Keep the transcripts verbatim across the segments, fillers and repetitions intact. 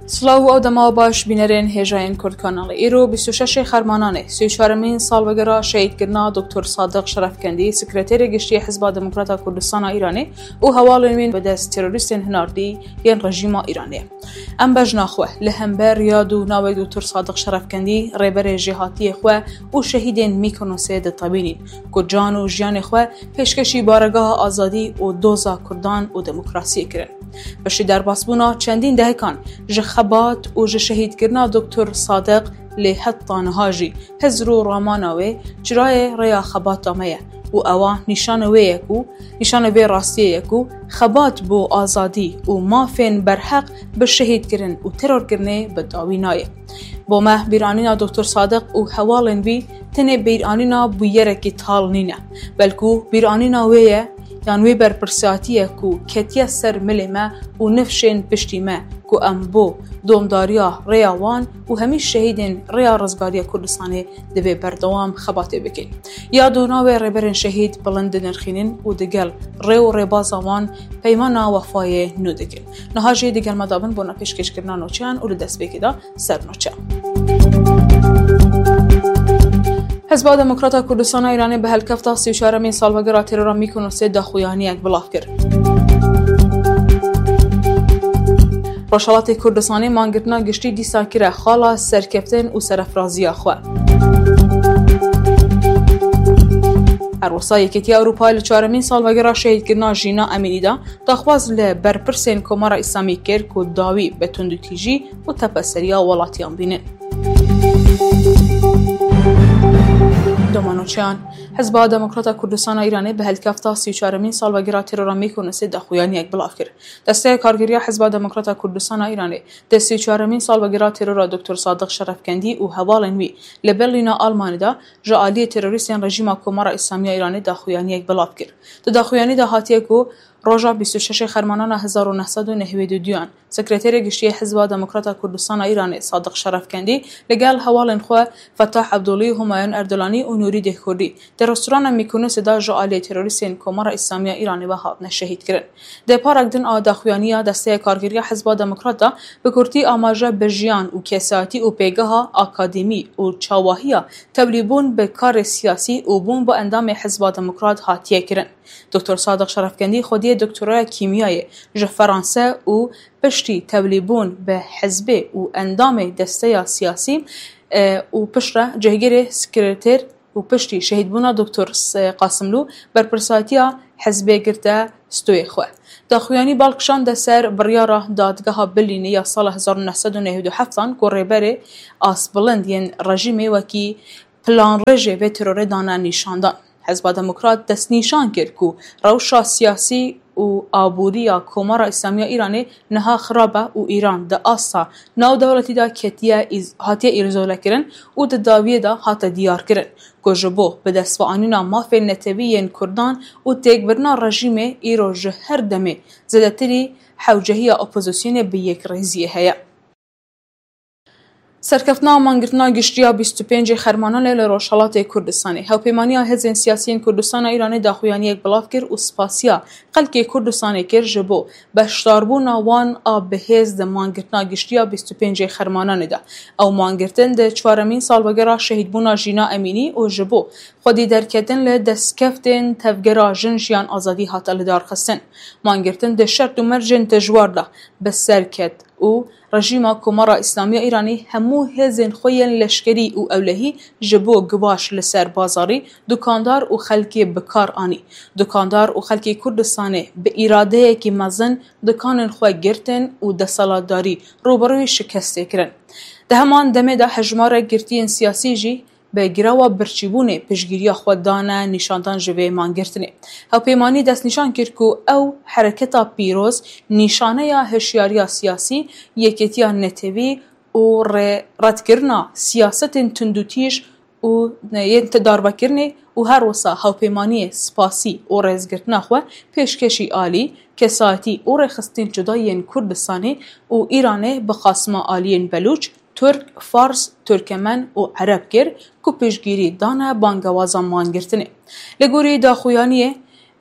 Silav û ew dema baş bînerên hêjayên Kurd Kanalê. Îro bîst û şeş Xermananê, sî û çaremîn salvegera şehîdkirina Doktor Sadiq Şerefkendî, Sekreterê Giştî Hizba Demokrata Kurdistana Îranê û hevalên wî bi dest terorîstên hinardî yên rejîma Îranê. Em bejna xwe li hember yad û navê Doktor Sadiq Şerefkendî, rêberê jêhatiyê xwe û şehîdên Mîkonosê ditewînîn, ku can û jiyanê xwe pêşkêşî baregeha azadî û doza Kurdan û demokrasiyê kirin. Piştî derbasbûna çendîn dehekan ji xebat û ji şehîdkirina Doktor Sadiq, lê heta niha jî hizr û ramana wê çirayê rêya xebata me ye û ewa nîşanê wê ye ku, nîşanê vê rastiyê ye ku xebat bo azadî û mafên berheq bi şehîdkirin û terorkirinê bi dawî nayê. Bo me bîranîna Doktor Sadiq û hevalên wî tenê bîranîna bûyerekî tal nîne, belkû bîranîna wê ye, yan wê berpirsiyatî ye ku ketiye ser milê me û nifşên piştî me, ku em bo domdariya rêya wan û hemî şehîdên rêya rizgariya Kurdistanê divê berdewam xebatê bikin. Yad û navê rêberên şehîd bilind dinirxînin û digel rê û rêbaza wan peymana wefayê nû dikin. Niha jî digel me dabin bona pêşkêşkirina nûçeyan û li destpêkê de ser nûçe. Hizba Demokrata Kurdistana Îranê bi helkefta sî û çaremîn salvegera terora Mîkonosê daxuyaniyek belav kir. Rojhelatê Kurdistanê mangirtina giştî dîsa kire xala serkeftin û serefraziya xwe. Her wisa Yekîtiya Ewropa li çaremîn salvegera şehîdkirina Jîna Emînî de daxwaz li berpirsên Komara Îslamî kir ku dawî bi tundûtîjî û tepeseriya welatiyan bînin. Domanoçeyan, Hizba Demokrata Kurdistana Îranê bi helkefta sî û çaremîn salvegera terora Mîkonosê daxuyaniyek belav kir. Desteya Kargeriya Hizba Demokrata Kurdistana Îranê di sî û çaremîn salvegera terora Doktor Sadiq Şerefkendî û hevalên wî li Berlîna Almanî de ji aliyê terorîstên rejîma Komara Îslamî ya Îranê daxuyaniyek belav kir. Di daxuyanî de hatiye ku roja bîst û şeş Xermanana hezar û neh sed û nehwêd û duyan, Sekreterê Giştî yê Hizba Demokrata Kurdistana Îranê Sadiq Şerefkendî li gel hevalên xwe Fetah Ebdolî û Humayun Erdolanî û Nûrî Dêhkurdî di restorana Mîkonosê de ji aliyê terorîstên Komara Îslamî ya Îranê ve hatine şehîdkirin. Di parek din a daxuyaniya Desteya Kargeriya Hizba Demokrat de bi kurtî amaje bi jiyan û kesayetî û pêgeha akademî û çawahiya tevlîbûn bi karê siyasî û bûn bi endamê Hizba Demokrat hatiye kirin. Doktor Sadiq Şerefkendî xwediyê doktoraya kîmyayê ji Feranse û piştî tevlîbûn bi hizbê û endamê desteya siyasî, e, û piştre cihgirê sekreter û piştî şehîdbûna Doktor S-, Qasimlû berpirsatiya hizbê girte stoyê xwe. Daxuyanî bal kişande ser biryara dadgeha Berlînê ya sala hezar û neh sed û nehwêd û heft an ku rêberê astbilind yên rejîmê wekî planrêjê vê terorê dane nîşandan. Hizba Demokrat destnîşan kir ku rewşa siyasî û aboriya Komara Îslamî ya Îranê niha xirab e û Îran di asta navdewletî de ketiye îz-, hatiye îzolekirin û di dawiyê de hate diyarkirin ku ji bo bi dest ve anîna mafên netewî yên Kurdan û têkbirina rejîmê îro ji her demê zêdetirî hewcehiya opozisyonê bi yekrêziyê heye. Serkeftina mangirtina giştî ya bîst û pêncê Xermananê li Rojhelatê Kurdistanê. Hevpêmaniya Hêzên Siyasî yên Kurdistana Îranê daxuyaniyek belav kir û spasiya xelkê Kurdistanê kir ji bo beşdarbûna wan a bi hêz di mangirtina giştî ya bîst û pêncê Xermananê de. Ew mangirtin di çaremîn salvegera şehîdbûna Jîna Emînî û ji bo xwedî derketin li destkeftên Tevgera Jin Jiyan Azadî hate lidarxistin. Mangirtin di şert û mercên dijwar de bi ser ket û rejîma Komara Îslamî ya Îranî hemû hêzên xwe yên leşkerî û ewlehî ji bo givaş li ser bazarî, dukandar û xelkê bi kar anî. Dukandar û xelkê Kurdistanê bi îradeyekî mezin dikanên xwe girtin û desthilatdarî rûbirûyî şikestê kirin. Di heman demê de hejmarek girtiyên siyasî jî bi girewa birçîbûnê piştgiriya xwe dane nîşandan ji vê mangirtinê. Hevpêmanî destnîşan kir ku ew hereketa pîroz nîşaneya hişyariya siyasî, yekêtiya netewî û rê-, redkirina siyasetên tundûtîj û yên ti darvekirinê û her wisa hevpêmaniyê spasî û rêzgirtina xwe pêşkêşî alî, kesayetî û rêxistin cuda yên Kurdistanê û Îranê bi qasima aliyên Belûç, Tirk, Fars, Tirkemen û Ereb kir ku piştgirî dane bangewaza mangirtinê. Li gorî daxuyaniyê,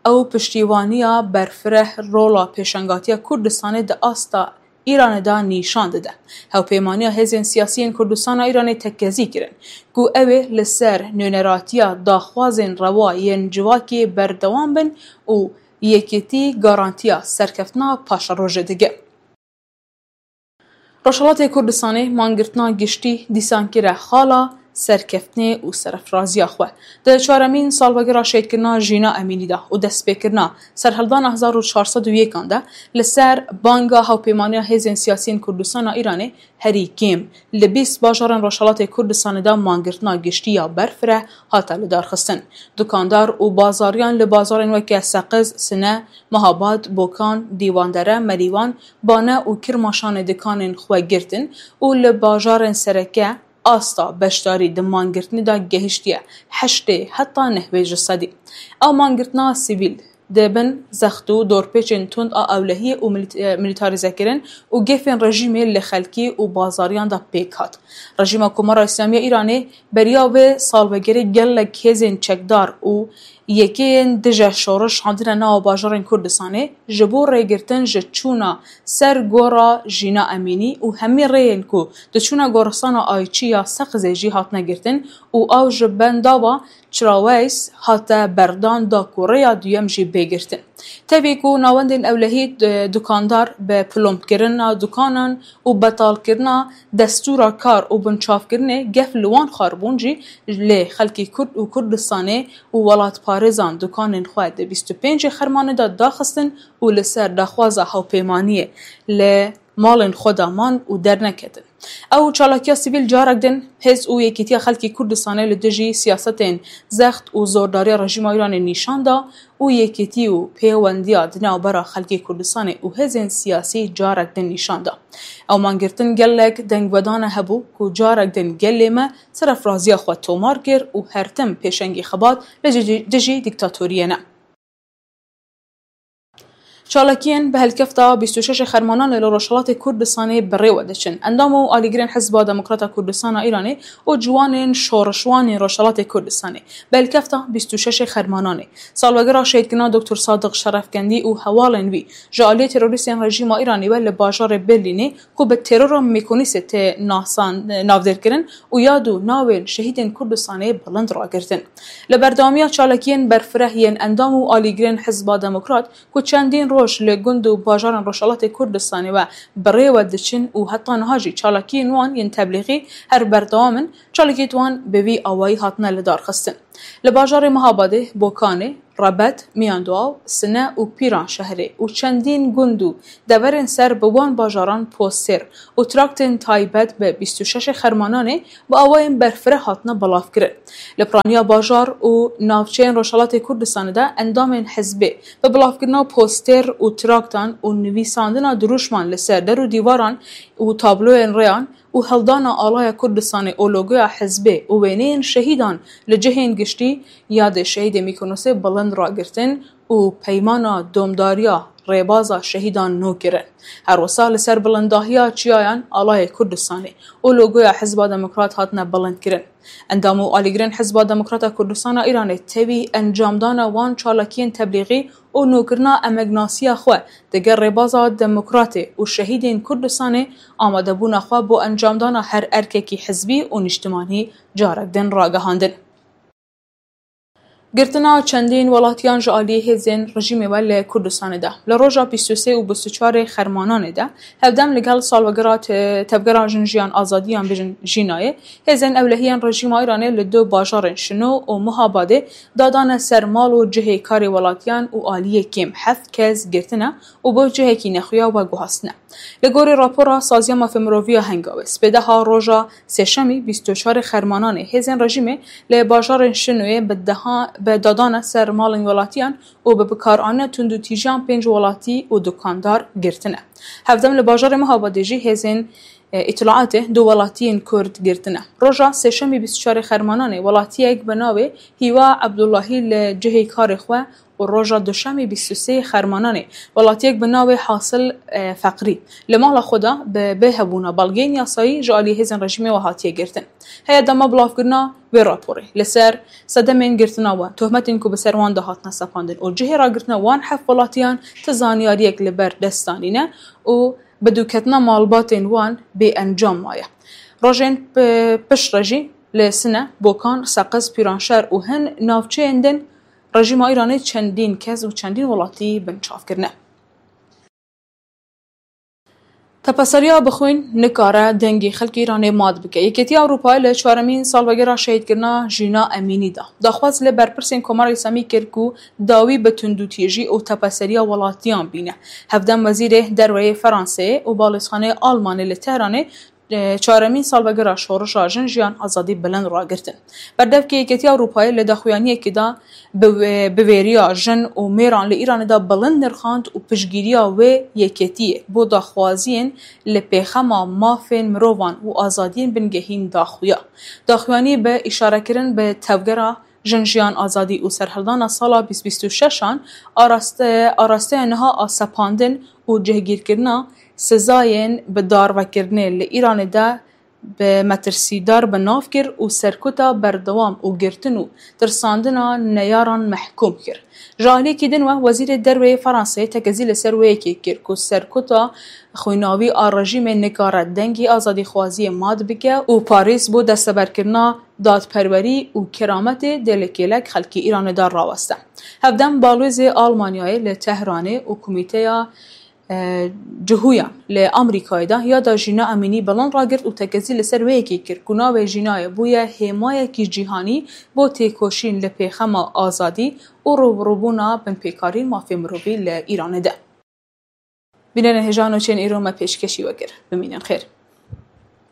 ew piştîwaniya berfireh rola pêşengatiya Kurdistanê di asta Îranê de nîşan dide. Hevpêmaniya hêzên siyasî yên Kurdistana Îranê tekezî kirin ku ew ê li ser nûneratiya daxwazên rewa yên civakê berdewam bin û yekîtî garantiya serkeftina paşerojê dike. Rojhilatê Kurdistanê mangirtina giştî dîsan kire xala serkeftinê û serefraziya xwe. Di çaremîn salvegera şehîdkirina Jîna Emînî de û destpêkirina serhildana hezar û çar sed û yekan de li ser banga Hevpêmaniya Hêzên Siyasî yên Kurdistana Îranê herî kêm li bîst bajarên Rojhilatê Kurdistanê de mangirtina giştî ya berfireh hate lidarxistin. Dukandar û bazariyan li bazarên weke Seqiz, Sine, Mehabad, Bokan, Dîwandere, Merîwan, Bane û Kirmaşanê dikanên xwe girtin û li bajarên sereke asta beşdarî di mangirtinê de gehiştiye heştê heta nehwê ji sedî. Ew mangirtina sivîl di bin zext û dorpêçên tund a ewlehiyê û milit-, e, milîtarîzekirin û gefên rejîmê li xelkî û bazariyan de pêk hat. Rejîma Komara Îslamî ya Îranê beriya vê salvegerê gelek hêzên çekdar û yekeyên dije şoriş handine nava bajarên Kurdistanê ji bo rêgirtin ji çûna ser gora Jîna Emînî û hemî rêyên ku diçûne goristana Ayçî ya Seqizê jî hatine girtin û ew ji bendava Çiraweys hate berdan da ku rêya duyem jî bê girtin. Tevî ku navendên ewlehî, e, dukandar bi pilomkirina dukanan û betalkirina destûra kar û binçavkirinê gef li wan xwar bûn jî, lê xelkê Kurd û Kurdistanê û welatparêzan dukanên xwe di bîst û pêncê Xermanê de daxistin û li ser daxwaza hewpêmaniyê li malên xwe de man û derneketin. Ew çalakiya sivîl carek din hêz û yekîtiya xelkê Kurdistanê li dijî siyasetên zext û zordariya rejîma Îranê nîşan da û yekîtî û pêwendiya di navbera xelkê Kurdistanê û hêzên siyasî carek din nîşan da. Ew mangirtin gelek dengvedana hebû ku carek din gelê me serefraziya xwe tomar kir û her tim pêşengî xebat li dijî, dijî dîktatoriyê ne. Çalakiyên bi helkefta bîst û şeş Xermananê li Rojhilatê Kurdistanê bi rê ve diçin. Endam û alîgirên Hizba Demokrata Kurdistana Îranê û ciwanên şorişwanên Rojhilatê Kurdistanê bi helkefta bîst û şeş Xermananê, salvegera şehîdkirina Doktor Sadiq Şerefkendî û hevalên wî ji aliyê terorîstên rejîma Îranê ve li bajarê Berlînê ku bi terora Mekonîsê tê nasan, navdêrkirin û yad û navên şehîdên Kurdistanê bilind ragirtin. Li berdewamiya çalakiyên berfireh yên endam û alîgirên Hizba Demokrat ku çendîn roj li gund û bajarên Rojhilatê Kurdistanê ve bi rê ve diçin û heta niha jî çalakiyên wan yên teblîxî her berdewam in, çalakiyên wan bi vî awayî hatine lidarxistin. Li bajarê Mehabadê, Bokanê, Rebet, Miyanduaw, Sine û Pîranşehrê û çendîn gund û deverên ser bi wan bajaran postêr û traktên taybet bi bîst û şeş Xermananê bi awayên berfireh hatine belavkirin. Li piraniya bajar û navçeyên Rojhelatê Kurdistanê de endamên hizbê bi belavkirina postêr û traktan û nivîsandina dirûşman li ser der û dîvaran û tabloyên rêyan û hildana alaya Kurdistanê û logoya hizbê û wêneyên şehîdan li cihên giştî yadê şehîdê Mîkonosê bilind ragirtin û peymana domdariya rêbaza şehîdan nû kirin. Her wisa li ser bilindahiya çiyayan alayê Kurdistanê û logoya Hizba Demokrat hatine bilindkirin. Endam û alîgirên Hizba Demokrata Kurdistana Îranê tevî encamdana wan çalakiyên teblîxî û nûkirina emegnasiya xwe digel rêbaza demokratê û şehîdên Kurdistanê amadebûna xwe bo encamdana her erkekî hizbî û nîştimanî carek din ragihandin. Girtina çendîn welatiyan ji aliyê hêzên rejîmê ve li Kurdistanê de. Li roja bîst û sê û bîst û çarê Xermananê de hevdem li gel salvegera te-, tevgera Jin Jiyan Azadiyan, bêjin Jînayê, hêzên ewlehiyên rejîma Îranê li du bajarên Şino û Muhabadê dadane ser mal û cihê karê welatiyan û aliyê kêm heft kes girtine û bo cihekî nexuya veguhastine. Li gorî rapora Saziya Mafê Miroviya Hengawê, spêdeha roja sêşemî bîst û çarê Xermananê hêzên rejîmê li bajarên Şinoyê bi deha-, bi dadana ser malên welatiyan û bi bikaranîna tundûtîjiyan pênc welatî û dukandar girtine. Hevdem li bajarê Mihabadê jî hêzên, e, îtilaatê du welatiyên Kurd girtine. Roja sêşemî bîst û çarê Xermananê welatiyek bi navê Hîwa Ebdullahî li cihê karê xwe û roja duşemê bîst û sê Xermananê welatiyek bi navê Hasil, e, Feqrî li mala xwe de bi bêhevbûna belgeyên yasayî ji alî hêzên rejîmê ve hatiye girtin. Heye dema bilavkirina wê raporê li ser sedemên girtina wan, tohmetên ku bi ser wan de hatine sepandin û cihê ragirtina wan heft welatiyan ti zanyariyek li ber dest danîne û Bidûketina malbatên wan bê encam maye. Rojên piştre jî li Sine, Bokan, Seqiz, Pîranşer û hin navçeyên din rejîma Îranê çendîn kes û çendîn welatî binçav kirine. Tepeseriya bixwîn nikare dengê xelkê Îranê mat bike. Yekêtiya Ewropayê li çaremîn salvegera şehîdkirina Jîna Emînî de daxwaz li berpirsên Komara Îslamî kir ku dawî bi tundûtîjî û tepeseriya welatiyan bîne. Hevdem wezîrê derweyê Franseyê û balêzxaneyê Almanê li Tehranê, e, çaremîn salvegera şorişa jin, jiyan, azadî bilind ragirtin. Berdevkê Yekêtiya Ewropayê li daxuyaniyekê de bi wê-, bi vêriya jin û mêran li Îranê de bilind nirxand û piştgiriya wê yekêtiyê bo daxwaziyên li pêxema mafên mirovan û azadiyên bingehîn daxuya. Daxuyanî bi îşarekirin bi tevgera Jin, Jiyan, Azadî û serhildana sala bîst bîst û şeş an araste-, arasteya niha a sepandin û cihgîrkirina sizayên bi darvekirinê li Îranê de bi metirsîdar bi nav kir û serkuta berdewam û girtin û tirsandina neyaran mehkûm kir. Ji aliyekî din we, Wezîrê Derweyê Franseyê tekezî li ser wê yekê kir ku serkuta xwînawî a rejîmê nikare dengê azadîxwaziyê mat bike û Parîs bo desteberkirina dadperwerî û kerametê dê li kêlek xelkê Îranê de raweste. Hevdem balwêzê Almanyayê li Tehranê û komîteya, e, Cihûyan li Amerîkayê de yada Jîna Emînî bilind ragirt û tekezî li ser wê yekê kir ku navê Jînayê bûye hêmayekî cîhanî bo têkoşîn li pêxema azadî û rûbirûbûna binpêkarîn mafê mirovî li Îranê de. Bînerên hêja, nûçeyên îro me pêşkêşî we kir. Bimînin xêr.